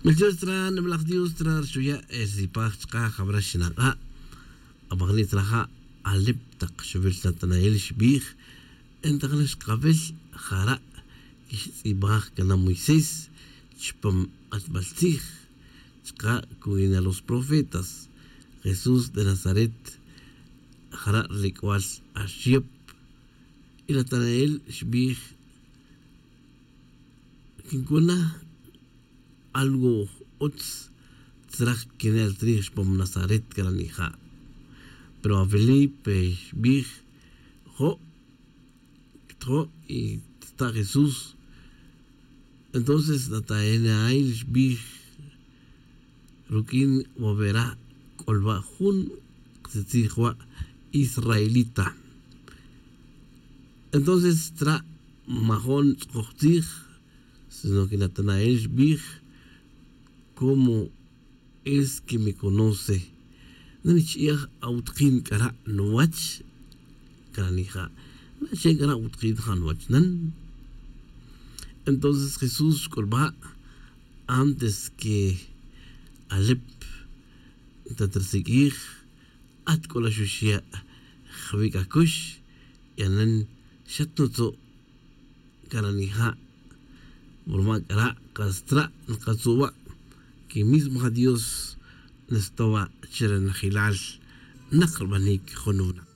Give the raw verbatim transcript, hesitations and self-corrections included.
Melchor tzra nimalaj dios tzra rxuya' ersipaj chka' jabra xinak'a'. Abajni' tzra ja' alep tak xubel natanael xbij. Entajna xkabel jara' kixtz'ibaj kana' moisés chupam q'atbal tzij chka' kuwina los profetas. Jesús de nazaret jara' rlik'wal axyep. Y natanael xbij, kinkuna algo utz tzraj kinel tzrij xpam nazaret kranija'. Pero a felipe xbij, jo' tjo' y tzta' jesús. Entonces natanael xbij, ruq'uin wavera k'olba' jun qtzij wa' israelita. Entonces tzra' majon tz'ukoj tzij, sino que natanael xbij, como es que me conoce? Nan ch'i'aj awutqin k'ara' nuwach. Kranija', naxen k'ara' awutqin ja' nuwach nan. Entonces jesús xk'ulba', antes que alep ntatrsiq'uij, at c'o la xuxya' jwic' acux. Yanen xat nutzu'. Caranija', ruma c'ara' kas tra' nkatzu' wa' que mismo ja dios nestawa' chire najilal. Nak rbanic jun wuna'.